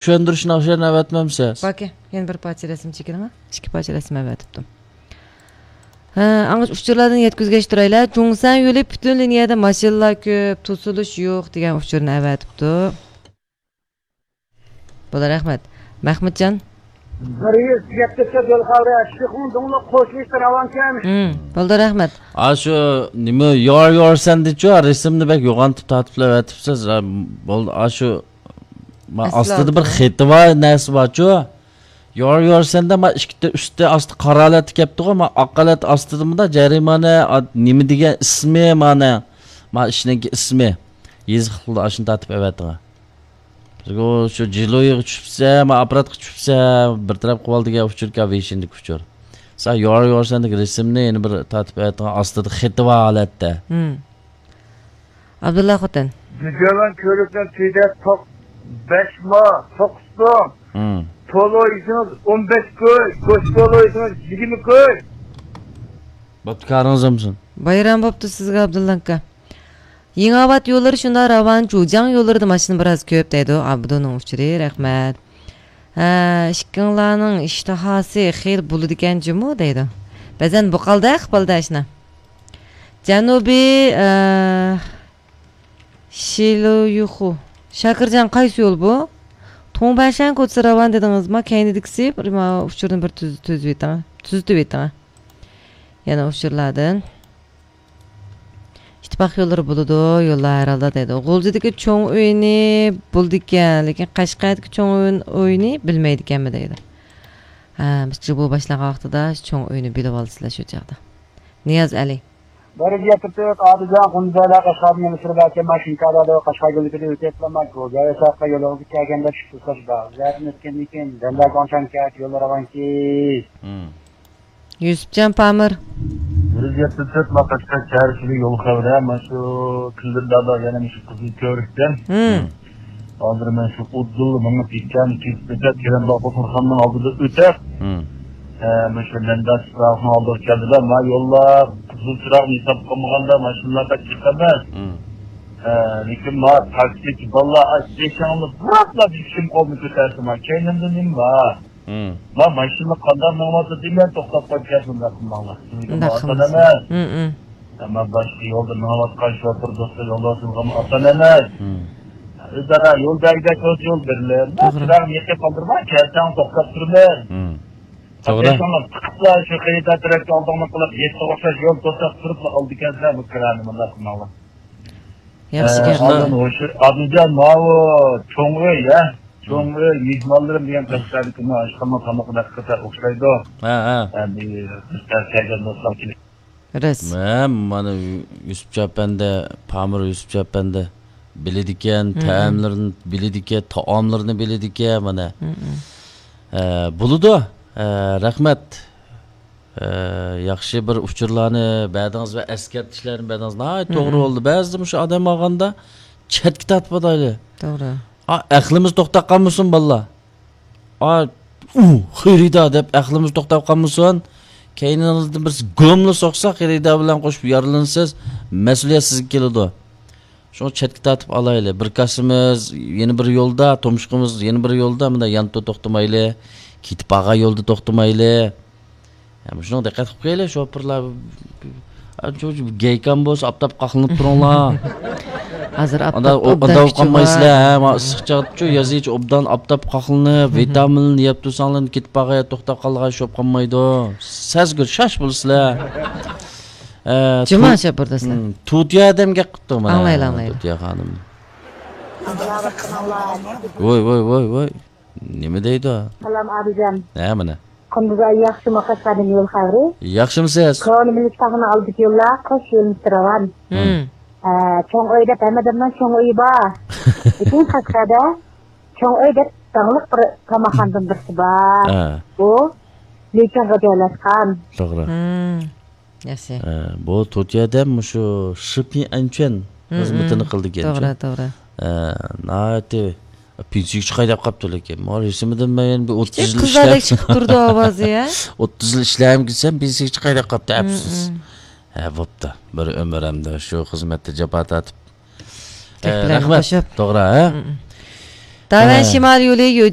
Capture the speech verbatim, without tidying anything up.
چۈشەندۈرۈشنى ئاشۇ يەردىن ئەۋەتمەمسىز؟ باكى، يەنە بىر پارچە رەسىم چېكىلىڭە. ئىككى پارچە رەسىم ئەۋەتىپتۇ. ھە، ئاڭا ئۇچۇرلاردىن يەتكۈزگەچ تۇرايلى. جۇڭسەن يولى پۈتۈن لىنىيەدە ماشىنىلار كۆپ، توسۇلۇش يوق دېگەن ئۇچۇرنى ئەۋەتىپتۇ. بولدى، رەھمەت. مەخمۇتجان. بىر يۈز يەتمىش تۆت يول خەۋىرى، شىخۇڭ دۇڭلۇق قوشۇلۇشتا راۋانكەن. ھىم، بولدى، رەھمەت. ئاشۇ نېمە، يور يور سەندىچۇ، رەسىمنى بەك يوغان تارتىپلا ئەۋەتىپسىز. ھە، بولدى، ئاشۇ ما ئەسلى ئاستىدا بىر ئالدىدا. خېتى بار، نەرسە بارچۇ. يور يور سەندە ما ئىككى ئۈستى ئاستى قارا ھالەتتە كەپتىغۇ، ما ئاق ھالەت ئاستىدا مۇندا جەرىمانە، ئا، نېمە دېگەن ئىسمى مانا. ما ئىشنىڭكى ئىسمى. يېزىقلىقتا ئاشۇنى تارتىپ ئەۋەتىڭە. بىزگە شۇ جىلۇيغا چۈشۈپسە، ما ئاپپاراتقا چۈشۈپسە، بىر تەرەپ قىلىۋال دېگەن ئۇچۇركەن، ۋېيشىندىكى ئۇچۇر. سەن يور يور سەندىكى رەسىمنى يەنە بىر تارتىپ ئەۋەتىڭە، ئاستىدا خېتى بار ھالەتتە. ھىم. ئابدۇللا خوتەن. گۈجەۋەن كۆۋرۈكنىڭ تۈۋىدە توق-، بەش ما، توققۇز توڭ. ھىم. تولا يېسىڭىز ئون بەش كوي، گۆش تولا يېسىڭىز يىگىرمە كوي. بوپتۇ، كارىڭىز بولسۇن. بايرام بوپتۇ سىزگە، ئابدۇللا ئاكا. يېڭىئاۋات يوللىرى شۇنداق راۋان، جۇجياڭ يوللىرىدا ماشىنا بىراز كۆپ دەيدۇ. ئابدۇنىڭ ئۇچۇرى، رەھمەت. ھە، ئىككىڭلارنىڭ ئىشتىھاسى خېلى بولىدىكەن جۇمۇ دەيدۇ. بەزەن بۇقالدەك قىپالدا ئىشنا. جەنۇبىي، ئە، شىلۇيۇخۇ. شاكىرجان، قايسى يول بۇ؟ توڭبەشەن كوچىسى راۋان دېدىڭىزما؟ كەينىدىكىسى بىر ما-، ئۇچۇرنى بىر تۈز-، تۈزۈۋېتىڭ. تۈزىتىۋېتىڭ. يەنە ئۇچۇرلاردىن. ئىتتىپاق يوللىرى بولىدۇ، يوللار ھەر ھالدا دەيدۇ. غۇلجىدىكى چوڭ ئۆينى بولىدىكەن، لېكىن قەشقەردىكى چوڭ ئۆي-، ئۆينى بىلمەيدىكەنمۇ دەيدۇ. ھە، بىز جۇبۇ باشلانغان ۋاقتىدا چوڭ ئۆينى بىلىۋالىسىلەر شۇ چاغدا. نىياز ئەلى. بىر يەتتە تۆت ئادىجان قۇمزەيلەر قەشقەردىن يېمىشلىرى بەلكى ماشىنكادە قەشقەر يولىدىكىدە ئۆتۈپ ماڭ، گوگەي ساققا يولىغا كەلگەندە چۈشۈپ تۇرساش بار. زەتىن ئۆتكەندىن كېيىن دەمدە گاڭشان كەچ يوللار راۋانكى. يۈسۈپجان پامىر. بىر يۈز يەتتە تۆت ماقاشقا چارشىلىق يول خەۋىرى، مانا شۇ كۈندۈردادا يەنە مۇشۇ قىزىل كۆۋرۈكتىن. ھازىر مەن شۇ ئۇدۇل مېڭىپ يېتىشكەن كېسىپ ئۆتەپ، كېرەم باغ بۇخارخانىنىڭ ئالدىدا ئۆتەپ، ئە، مانا شۇ مەنداش چىراغنىڭ ئالدىغا كەلدىدە، ما يوللار قىزىل چىراغنى ھېساب قىلمىغاندا ماشىنىلار بەك جىق ئەمەس. ئە، لېكىن ما تاكسىچى بالىلار ئاش بېشىڭنى بۇراپلا بېشىم قولنى كۆتەرسە، ما كەينىمدە نېمە بار؟ ما ماشىنا قانداق مېڭىۋاتىدۇ دېمەي توختاپ قويۇپ كەتسۇن، مۇنداق قىلماڭلار. سىزگە مۇنداق ئاتان قىلمىسۇن. ئەمەس. ئەمما باشقا يولدا مېڭىۋاتقان شوپۇر دوستلار يولداشلىرىمغا ئاتان ئەمەس. ئۆزئارا يول بەرگۈدەك بولسا يول بېرىلىدۇ. توغرا. چىراغنى يېقىپ قالدۇرماي، كەلسەڭ توختاپ تۇرىمەن. توغرا. بېشىڭلار تىقىپلا شۇ خېرىدار تەرەپكە ئالدىڭلار قىلىپ، يەتتە ئوخشاش يول توساپ تۇرۇپلا ئالىدىكەنسىلەر بۇ كىرانى، مۇنداق قىلماڭلار. ياخشى گەپ. ئاندىن ئاشۇ ئابدۇجان، ماۋۇ چوڭ ئۆي، ھە؟ چوڭ ئۆي، مېھمانلىرىم دېگەن قەشقەردىكى مانا ئاشخانىنىڭ تامىقىدەك قىزار ئوخشايدۇ. ھە، ھە. ئەمدى بىز كەلگەن دوستلار كېلىپ. راست. مەن مانا يۈسۈپجان ئەپەندى، پامىر يۈسۈپجان ئەپەندى بىلىدىكەن، تەئەملىرىنى بىلىدىكەن، تائاملىرىنى بىلىدىكەن، مانا. ھە، بولىدۇ. ھە، رەھمەت. ئە، ياخشى بىر ئۇچۇرلارنى بەردىڭىز ۋە ئەسكەرتىشلەرنى بەردىڭىز. ناھايىتى توغرا بولدى. بەزىدە مۇشۇ ئادەم ئالغاندا چەتكە تارتىپ ئاتايلى. توغرا. ئا، ئەقلىمىز توختاپ قالمىسۇن، بالىلار. ئا، ئۇ، خېرىدار دەپ ئەقلىمىز توختاپ قالمىسۇن. كەينىڭىزدىن بىرسى گوملا سوقسا، خېرىدار بىلەن قوشۇپ يارىلىنىسىز. مەسئۇلىيەت سىزگە كېلىدۇ. شۇڭا چەتكە تارتىپ ئالايلى. بىر كاسىمىز يەنە بىر يولدا، تۇمشۇقىمىز يەنە بىر يولدا، مۇنداق ياندا توختىمايلى. كېتىپ بارغان يولدا توختىمايلى. ھە، مۇشۇنىڭغا دىققەت قىلىپ قويايلى، شوپۇرلار. ئا، شۇ گەيكام بولسا، ئاپتاپقا قاقلىنىپ تۇرۇڭلار. ھازىر ئاندا ئاپتاپ ئوبدان ئوبدان كۈچى قالمايسىلەر، بار. ھە، ما ئىسسىق چاغدىچۇ، يازىچە ئوبدان ئاپتاپقا قاقلىنىپ، ۋىتامىننى يەپ تۇرساڭلار، كېتىپ بارغان يەردە توختاپ قالغان شوپ قالمايدۇ. سەزگۈر شاش بولىسىلەر. ئە، جۇما تو-، شاپۇرداسلار. ھىم، تۇتىيا ئادەم گەپ قىپتۇ مانا. ئاڭلايلى، ئاڭلايلى. تۇتىيا خانىم. ۋوي، ۋوي، ۋوي، ۋوي. نېمە دەيدۇ؟ سالام، ئابىجان. ھە، مانا. قۇندۇز ئايى ياخشىمۇ، قەشقەردىن يول خەۋىرى؟ ياخشىمۇسىز؟ كونا مىلىك تاغنىڭ ئالدىدىكى يوللار قوش يۆنىلىشتە راۋان. ھىم. ئە، چوڭ ئۆي دەپ ھەممە ئادەمنىڭ چوڭ ئۆيى بار. لېكىن قەشقەردە چوڭ ئۆي دەپ داڭلىق بىر تاماقخانىدىن بىرسى بار. ھە. ئۇ لىچىڭغا جايلاشقان. توغرا. ھىم. ياخشى. ئە، بۇ تۇتىيا ئادەم مۇشۇ شىپىڭ ئەنچۈەن خىزمىتىنى قىلىدىكەن. توغرا، توغرا. ئە، ناھايىتى پېنسىيىگە چىقاي دەپ قاپتۇ، لېكىن ما رەسىمىدىن مەن بىر ئوتتۇز يىل ئىشلەپ، قىزلاردەك چىقىپ تۇرىدۇ ئاۋازى، ھە؟ ئوتتۇز يىل ئىشلەرگە كىرسەم، پېنسىيىگە چىقاي دەپ قاپتۇ، ئەپسۇس. ھە، بوپتۇ. بىر ئۆمۈر ئەمدى شۇ خىزمەتتە جاپا تارتىپ. ئە، رەھمەت. توغرا، ھە؟ داۋەن ھە. شىمال يولى يوجى